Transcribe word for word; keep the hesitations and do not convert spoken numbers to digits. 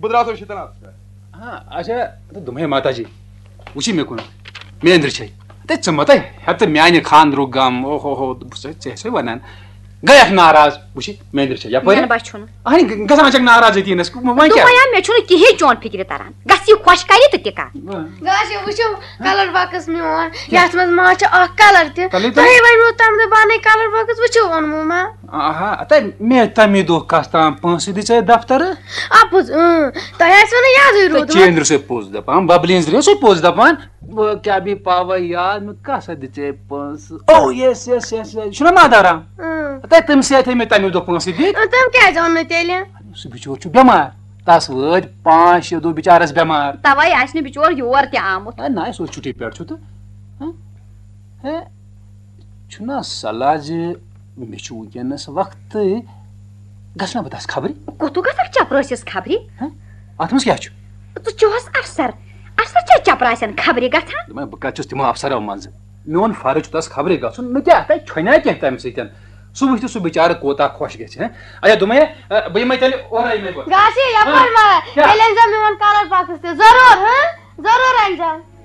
بہٕ درٛاس وۄنۍ شیٖتن آبس پٮ۪ٹھ۔ ہاں، اچھا، تہٕ دوٚپمَے ماتا جی، وٕچھی مےٚ کُن، مےٚ أنٛدرٕ چھے۔ تہٕ ژٕ مہ تہٕ ہٮ۪تہٕ میٛانہِ خانٛدرُک غم، او ہو ہو، بہٕ چھُسَے ژےٚ سۭتۍ وَنان۔ گٔیَکھ ناراض، وٕچھی، مےٚ أنٛدرٕ چھے یَپٲرۍ۔ مےٚ باسیٚو نہٕ۔ اہنی، گ-، گژھان چھَکھ ناراض أتی نَس، وۄنۍ کیٛاہ؟ دوٚپمَے مےٚ چھُنہٕ کِہیٖنۍ چون فِکرِ تَران۔ گژھ یہِ خۄش کَرِ تہٕ تہِ کَر۔ گاسہِ وٕچھِو کَلَر بۄکٕس میون، یَتھ منٛز ما چھُ اَکھ کَلَر تہِ۔ تَلے، تَلے۔ تۄہے وَنیو تَمہِ دۄہ بَنَے کَلَر بۄکٕس، وٕچھِو اوٚنمُت ما؟ آہا، تَے مےٚ تَمی دۄہ کَس تام پونٛسہٕ دِژے دفترٕ۔ اَپُز، اۭں، تۄہہِ آسِوٕ نہٕ یادٕے تہٕ روٗدمُت۔ چینٛدرِ سُے پوٚز دَپان، بَبلہِ ہِنٛز درٛے سُے پوٚز دَپان۔ بہٕ کیٛاہ بیٚیہِ پاوَے یاد، مےٚ کَس اَتھ دِژے پونٛسہٕ؟ او، یَس، یَس، یَس، یَس، یہِ چھُنہ مادارا؟ اۭں۔ تَے تٔمۍ سٕے اَتھِ مےٚ تَمی دۄہ پونٛسہٕ دِتۍ۔ اۭں، تٔمۍ کیٛازِ اوٚن نہٕ تیٚلہِ؟ سُہ بِچور چھُ بٮ۪مار، تَس وٲتۍ پانٛژھ شےٚ دۄہ بِچارَس بٮ۪مار۔ تَوَے آسہِ نہٕ بِچور یور تہِ آمُت۔ اے، نہ، سُہ اوس چھُٹی پٮ۪ٹھ چھُ تہٕ۔ ہہ؟ ہے، چھُنہ صلاح زِ مےٚ چھُ وٕنکیٚنَس وقتٕے، گژھٕ نہ بہٕ تَس خبرِ؟ کوٚتُو گژھکھ چپرٲسِس خبرِ؟ ہہ؟ اَتھ منٛز کیٛاہ چھُ؟ ژٕ چھُہس افسر، افسر چھا چپراسٮ۪ن خبرِ گژھان؟ دوٚپمَے، بہٕ کَتہِ چھُس تِمو افسرو منٛزٕ؟ میون فرض چھُ تَس خبرِ گژھُن، مےٚ کیٛاہ تَتہِ کھیوٚنہ کینٛہہ تَمہِ سۭتۍ؟ سُہ وٕچھِ تہٕ سُہ بِچارٕ کوٗتاہ خۄش گژھِ، ہہ؟ اچھا، دوٚپمَے، اَ، بہٕ یِمَے تیٚلہِ اورَے مےٚ گۄڈٕ۔ گاسہِ یَپٲرۍ ہہ؟ ما؟ کیٛاہ؟ تیٚلہِ أنۍزیو میون کَلَر بۄکٕس تہِ، ضروٗر، ہہ؟ ضروٗر أنۍزیو۔